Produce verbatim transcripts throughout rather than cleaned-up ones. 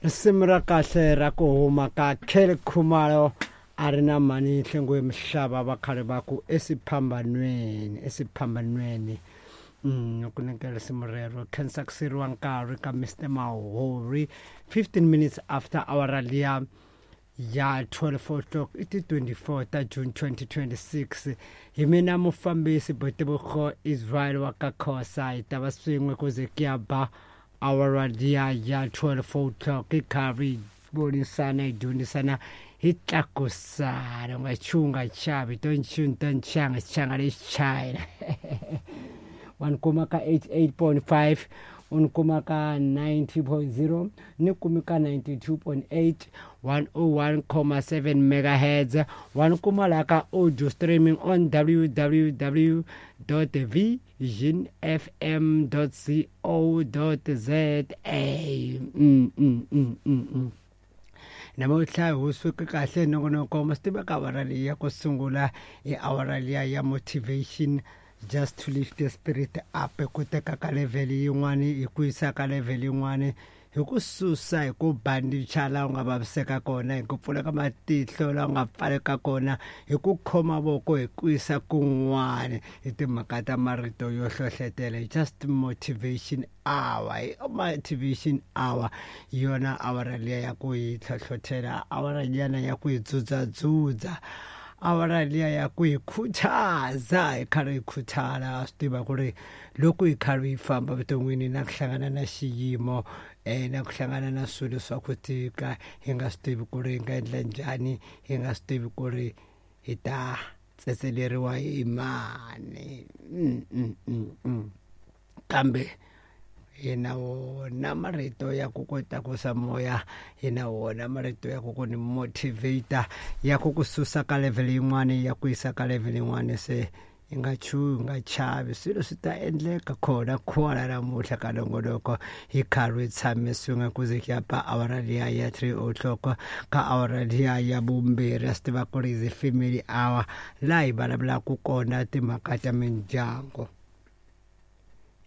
Risimu ra kahle ra ku huma ka Kelly Khumalo a ri na mhani Nhlengwe Mhlava va khale va ku esiphambanweni esiphambanweni. Mm ku nyika risimu rero khensa ku siriwa nkarhi ka Mister Mahori fifteen minutes after hour liya ya twelve o'clock i ti twenty-four ta June twenty twenty-six. Hi mina mufambisi Boitebogo Israel wa ka Khosa hi ta va swin'we ku ze ku ya ba awara liya ya twelve o'clock hi karhi hi vonisana hi dyondzisana hi tlakusana. U nga chuhi u nga chavi to nchumu to nchanga xichanga lexi china. Wa ni kuma ka eighty-eight point five, u ni kuma ka ninety point zero, ni kumi ka ninety-two point eight, one oh one comma seven megahertz. Wa ni kuma laha ka audio streaming on w w w dot vision f m dot co dot z a. Mm, mm, mm, mm, mm. Namuntlha hi suke kahle nongonoko ma swi tiva ka awara leyi ya ku sungula i awara liya ya motivation, just to lift the spirit up, ku teka ka level yin'wani hi ku yisa ka level yin'wani, hi ku susa hi ku bandicha laha u nga vaviseka kona, hi ku pfuleka matihlo laha u nga pfaleka kona, hi ku khoma voko hi ku yisa kun'wani, hi timhaka ta marito yo hlohletela. Just motivation hour, hi motivation hour hi yona awara liya ya ku hi hlohletela, awara liyana ya ku hi dzudzadzudza, awara liya ya ku hi khutaza, hi karhi hi khuthala. Swi tiva ku ri loko hi karhi hi famba vuton'wini na ku hlangana na xiyimo eh na ku hlangana na swilo swa ku tika, hi nga swi tivi ku ri hi nga endla njhani, hi nga swi tivi ku ri hi ta tsetseleriwa hi mani. Mm, mm, mm, mm. Kambe hi na wona marito ya ku ku tlakusa moya, hi na wona marito ya ku ku ni motivator, ya ku ku susa ka level yin'wani ya ku yisa ka level yin'wani. Se i nga chuhi, u nga chavi, swilo swi ta endleka khona khona namuntlha ka nongonoko hi karhi hi tshame swin'we ku ze ku ya ba awara liya ya three o'clock ka awara liya ya vumbirhi. A swi tiva ku ri is family hour laha hi vulavulaka kona timhaka ta mindyangu.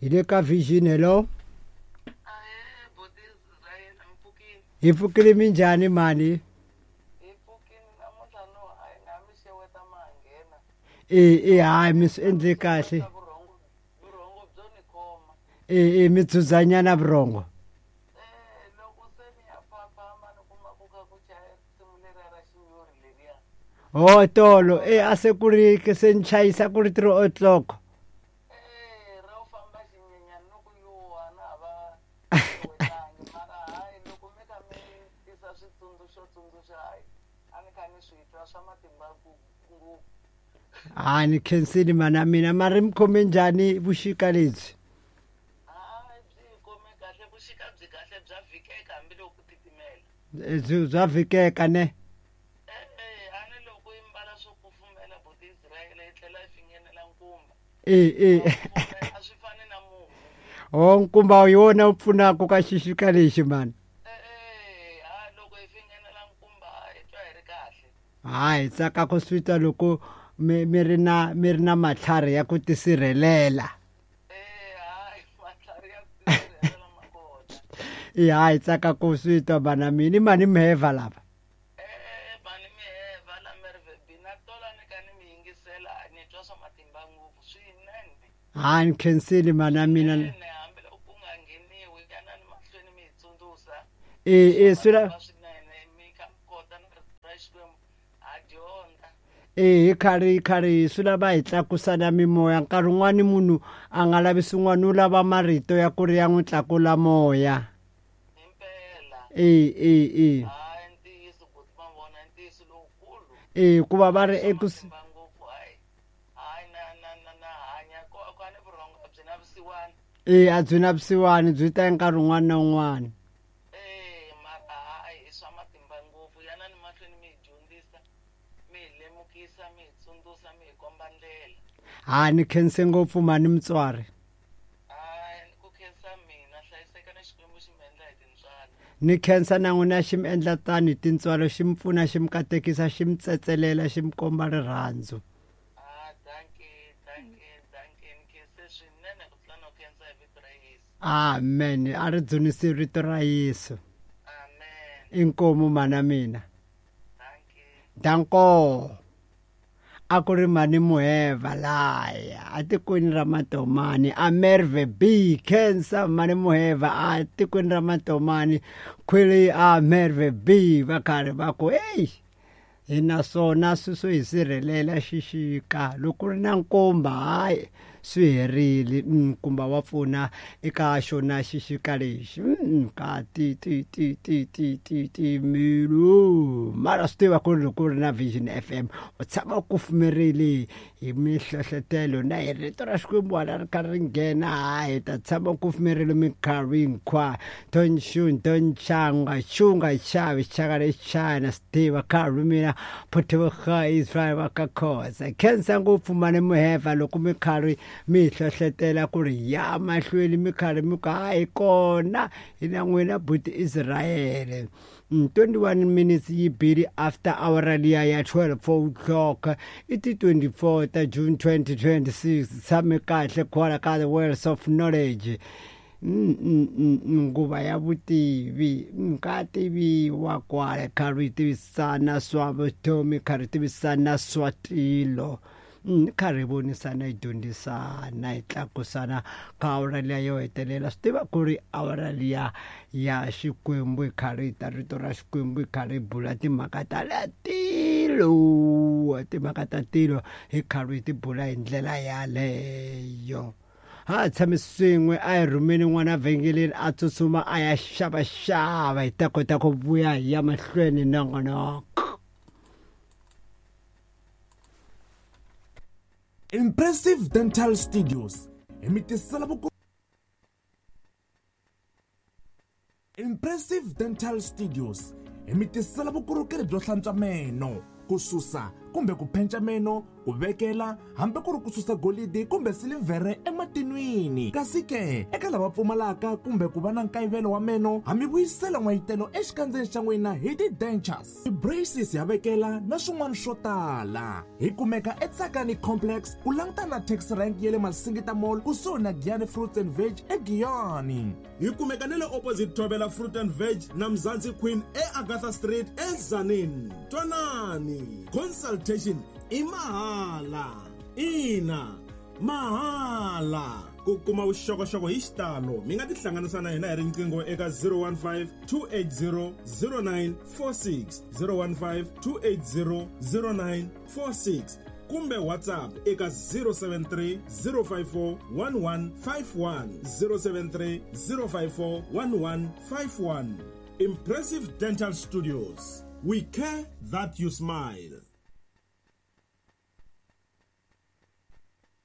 Hi le ka Vision. Hello, hi pfukile minjhani mani? E e hayi mi swi endle kahle. E e mi dzudzanyana vurhongo. Ho tolo e a se ku ri se ni chayisa ku ri three o'clock. Ha ni khensile mana mina, mari mi khome njhani vuxika lebyi? Byi bya vhikeka ne? E e ho nkumba hi wona wu pfunaka ka xixika lexi mani. Hayi tsaka ku swi twa loko mi mi ri na mi ri na matlhari ya ku tisirhelela. E hayi tsaka ku swi twa bana mina, mani miheva lava. Ha ni khensile mana mina. E e swi la e hi karhi hi karhi swi lava hi tlakusana mimoya. Nkarhi wun'wani munhu a nga lavi swin'wana, u lava marito ya ku ri ya n'wi tlakula moya. E e e e hikuva va ri eku e a byi na vusiwana, byi ta nkarhi wun'wana na wun'wana. Ha ni khense ngopfu mani mutswari. Ni khensa na n'wina xi mi endla tani tintswalo, xi mi pfuna, xi mi katekisa, xi mi tsetselela, xi mi komba rirhandzu. Amen. A ri dzunisi rito ra Yesu. Inkomu mana mina. Danko. A ku ri mani Muheva laya a tikweni ra Matomani a Merve B Cancer mani Muheva a tikweni ra Matomani khwiri a Merve B va karhi va ku hey hi na swona swi hi sirhelela xixika loko ri na nkomba hayi swi herile nkumba wa pfuna eka xona xixika lexi ka ti ti ti ti ti ti ti milu mara swi tiva ku ri loko ri na Vision F M u tshama u kufumerile hi mihlohlotelo na hi rito ra Xikwembu hala ri karhi ri nghena hayi ta tshama u kufumerile minkarhi hinkwayo tonxun tonchanga xunga xavi xaka lexana swi tiva karhi mina Phuthuvukha Israel wa ka Khoza khensa ngopfu mani Muheva loko mi karhi mi hlohletela ku ri ya mahlweni mi karhi mi ku hayi kona hi na n'wina buti Israel. twenty-one minutes yi bili after hour liya ya twelve o'clock i ti twenty-four ta June twenty twenty-six. Tshame kahle kwala ka the Wells of Knowledge. Nguva ya vutivi ka tiviwa kwale karhi tivisana swa vutomi karhi tivisana swa tilo karhi vonisana hi dyondzisana hi tlakusana ka awara liya yo hetelela. Swi tiva ku ri awara liya ya Xikwembu hi karhi hi ta rito ra Xikwembu hi karhi hi bula timhaka ta la tilo timhaka ta tilo hi karhi hi ti bula hi ndlela yaleyo. Ha tshame swin'we a hi rhumeni n'wana vhengeleni a tsutsuma a ya xavaxava hi ta kota ku vuya hi ya mahlweni nongonoko. Impressive Dental Studios hi mi tisela vuko Impressive Dental Studios hi mi tisela vukorhokeri byo hlantswa meno, ku susa kumbe ku phenca meno, ku vekela hambi ku ri ku susa golidi kumbe silivhere ematinwini. Kasi ke eka lava pfumalaka kumbe ku va na nkayivelo wa meno, ha mi vuyisela n'wayitelo exikandzeni xa n'wina hi ti-dentures, ti-braces ya vekela na swin'wana swo tala. Hi kumeka eTsakani Complex ku langutana na taxi rank ya le Masingita Mall kusuhi na Giyani Fruits and Veg eGiyani. Hi kumeka na le opposite Thobela Fruit and Veg na Mzansi Queen eAgatha Street eZanini. Twanani, consultation i mahala. Ina, mahala. Ku kuma vuxokoxoko hi xitalo mi nga tihlanganisa na hina hi riqingho eka zero one five two eight zero zero nine four six zero one five two eight zero zero nine four six kumbe WhatsApp eka zero seven three zero five four one one five one zero seven three zero five four one one five one. Impressive Dental Studios. We care that you smile.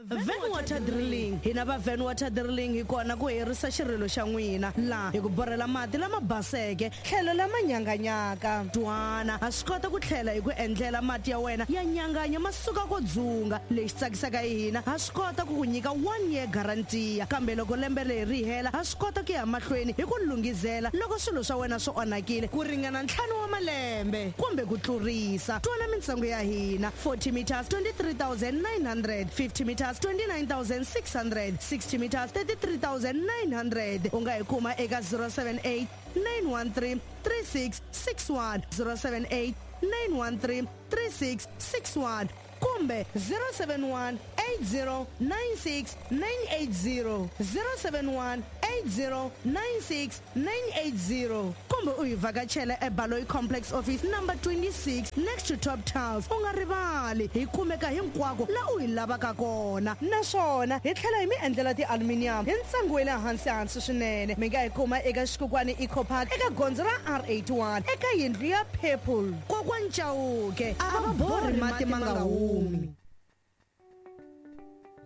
Van Water Drilling. Hina va Van Water Drilling hi kona ku herisa xirilo xa n'wina laha hi ku borhela mati lama baseke tlhelo lama nyanganyaka. Twana ha swi kota ku tlhela hi ku endlela mati ya wena ya nyanganya ma suka ko dzunga. Lexi tsakisaka hi hina ha swi kota ku ku nyika one year guarantee, kambe loko lembe leri ri hela ha swi kota ku ya mahlweni hi ku lunghizela loko swilo swa wena swi onhakile ku ringana ntlhanu wa malembe kumbe ku tlurisa. Twana mintsengo ya hina forty meters twenty-three thousand nine hundred, fifty meters twenty-nine thousand six hundred, sixty meters thirty-three thousand nine hundred. U nga hi kuma eka zero seven eight nine one three three six six one zero seven eight nine one three three six six one kumbe zero seven one eight zero nine six nine eight zero zero seven one eight zero nine six nine eight zero kumbe u hi vhakachela eBaloyi Complex Office number twenty-six next to Top Tiles. U nga rivali hi kumeka hinkwako la u hi lavaka kona, naswona hi tlhela hi mi endlela ti-aluminium hi ntsengo wa le hansi hansi swinene. Mi nga hi kuma eka Xikukwani Eco Park eka gondzo ra R eighty-one eka yindlu ya Purple. Kokwani Chauke a va borhi mati ma nga humi.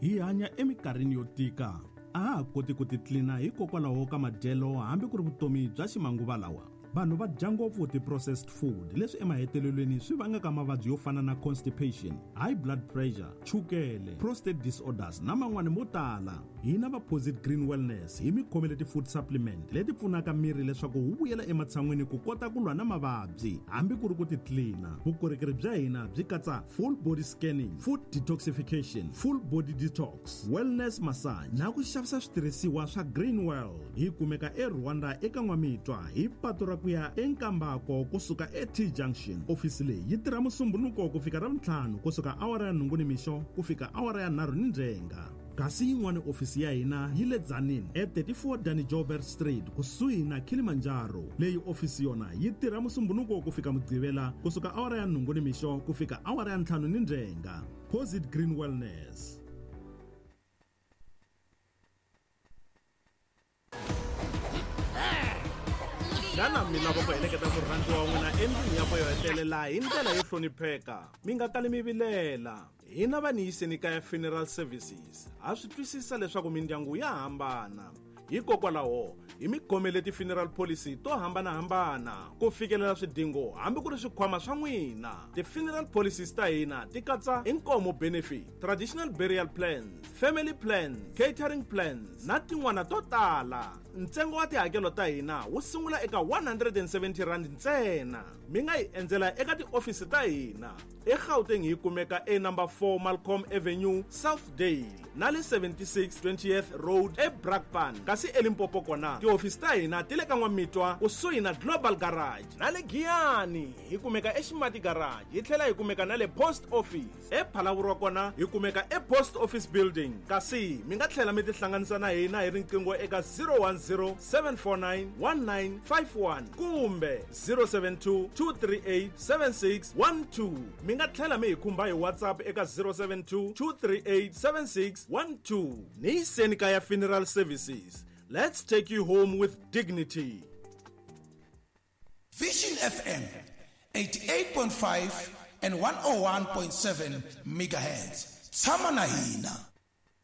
Hi hanya eminkarhini yo tika, a ha koti ku titlina hikokwalaho ka madyelo hambi ku ri vutomi bya ximanguva lawa. Vanhu va dya ngopfu ti-processed food leswi emahetelelweni swi vangaka mavabyi yo fana na constipation, high blood pressure, chukele, prostate disorders na man'wani mo tala. Hina va Posit Green Wellness hi mi khomele ti-food supplement leti pfunaka miri leswaku wu vuyela ematshan'wini ku kota ku lwa na mavabyi hambi ku ri ku titlina. Vukorhokeri bya hina byi katsa full body scanning, food detoxification, full body detox, wellness massage na ku xavisa switirhisiwa swa Green World. Hi kumeka eRwanda eka N'wamitwa hi patu ra ku ya eNkambako kusuka e-T Junction. Ofisi leyi yi tirha Musumbunuko ku fika Ravutlhanu, kusuka awara ya nhungu nimixo ku fika awara ya nharhu ni ndzhenga. Kasi yin'wana ofisi ya hina yi le Tzaneen e thirty-four Danny Joubert Street, kusuhi na Kilimanjaro. Leyi ofisi yona yi tirha Musumbunuko ku fika Mugqivela, kusuka awara ya nhungu nimixo ku fika awara ya ntlhanu ni ndzhenga. Posit Green Wellness. Xana mi lava ku heleketa murhandziwa wa n'wina endlwini ya yo hetelela hi ndlela yo hlonipheka? Mi nga kali mi vilela, hina va Niyiseni Kaya Funeral Services ha swi twisisa leswaku mindyangu ya hambana. Hikokwalaho hi mi khomele ti-funeral policy to hambanahambana ku fikelela swidingo hambi ku ri swikhwama swa n'wina. Ti-funeral policies ta hina ti katsa inkomo benefit, traditional burial plans, family plans, catering plans na tin'wana to tala. Ntsengo wa tihakelo ta hina wu sungula eka one hundred and seventy rand ntsena. Mi nga hi endzela eka tiofisi ta hina eGauteng, hi kumeka e number four Malcolm Avenue, Southdale, na le seventy-six twentieth Road eBrakpan. Kasi eLimpopo kona tihofisi ta hina ti le ka N'wamitwa, kusuhi na Global Garage, na le Giyani hi kumeka eXimati Garage, hi tlhela hi kumeka na le Post Office. EPhalaborwa kona hi kumeka ePost Office Building. Kasi mi nga tlhela mi tihlanganisa na hina hi riqingho eka zero one zero, seven four nine, one nine five one kumbe zero seven two, two three eight, seven six one two. Mi nga tlhela mi hi khumba hi WhatsApp eka zero seven two, two three eight, seven six one two. Niyiseni Kaya Funeral Services, let's take you home with dignity. Vision F M eighty-eight point five and one oh one point seven megahertz. Tshama na hina.